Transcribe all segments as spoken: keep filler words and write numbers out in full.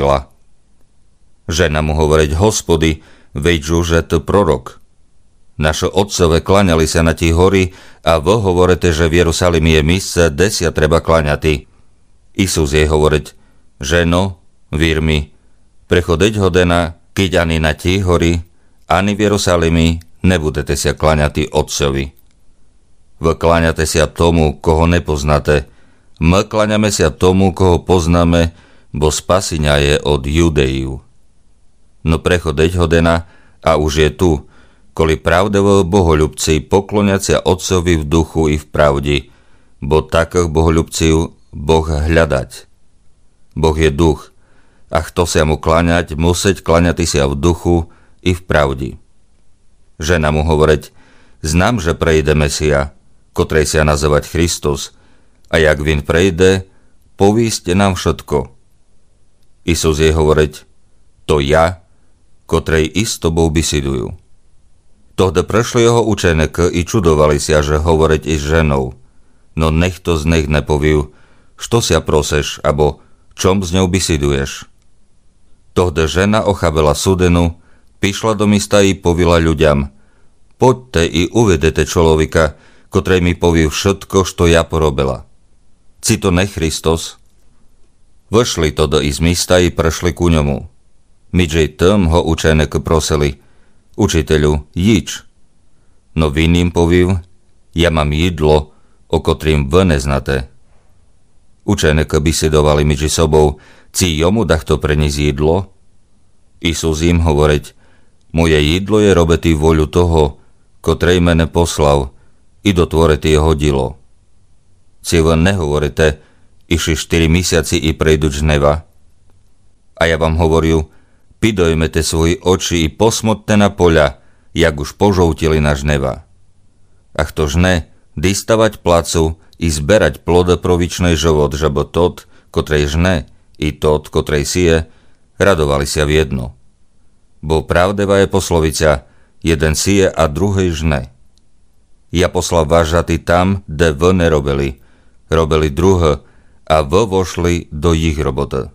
пішла. Жена му говорить: Господи, виджу, же ты пророк. Нашы отцове кланяли ся на тій горі, а вы говорите, же в Єрусалімі є місце, де ся треба кланяти. Ісус єй говорить: Жено, вір мі, приходить година, кидь ани на тій горі, ани в Єрусалімі не будете ся кланяти Отцові. Вы кланяте ся тому, кого не познате. Мы кланяме ся тому, кого познаме, бо спасіня є од Юдеїв. Но приходить година, а уж є ту, коли правдиві боголюбці поклонять ся Отцові в духу і в правді, бо такых боголюбців Бог глядать. Бог є дух, а хто ся му кланять, мусить кланяти ся в духу і в правді. Жена му говорить: Знам, же прийде Месія, котрый ся называть Христос, а як він прийде, повість нам вшытко. Ісус єй говорить: То я, котрый і з тобов бісідую. Тогды пришли його ученикы і чудовали ся, же говорить із женов. Но нихто з них не повів: Што ся просиш, або чом з ньов бісідуєш? Тогды жена охабила судину, пішла до міста і повіла людям: Подте і увидите чоловіка, котрый мі повів вшытко, што я поробила. Ци то не Христос? Вышли тогды із міста і пришли ку ньому. Міджи тым го ученикы просили: Учителю, їдж. Но він їм повів: Я мам їдло, о котрім вы не знате. Ученикы бісідовали міджи собов, ци йому дахто приніс їдло. Ісус їм говорить: Моє їдло є робити волю того, котрый мене послав, і дотворити його діло. Ци вы не говорите: Іщи штыри місяці і прийдуть жнива? А я вам говорю: підоймете свої очі і посмотте на поля, як уж пожовтіли на жнива. А хто жне, діставать плацу і зберать плоды про вічный живот, жебы тот, котрый жне, і тот, котрый сіє, радовали ся вєдно. Бо правдива є пословиця: Єден сіє, а другый жне. Я послав вас жати там, де вы не робили, робили другы, а вы вошли до їх роботы.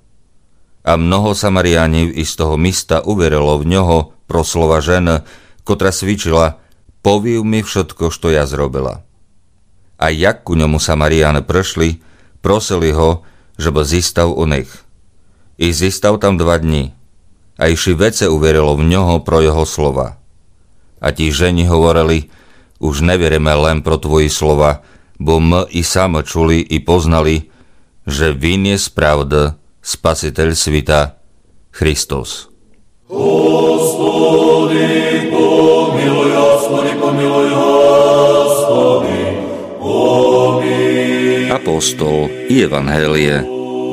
А много Самарянів із того міста увірило в нього про слова жены, котра свідчила: Повів мі вшытко, што я зробила. А як ку ньому Самаряны пришли, просили го, жебы зістав у них. І зістав там два дні. А іщи веце увірило в нього про його слова. А ті жені говорили: Уж не віриме лем про твої слова, бо мы і самы чули і познали, же він є справды Спаситель світа, Христос. Господи, помилуй, Господи, помилуй, Господи, помилуй. Апостол і Євангеліє.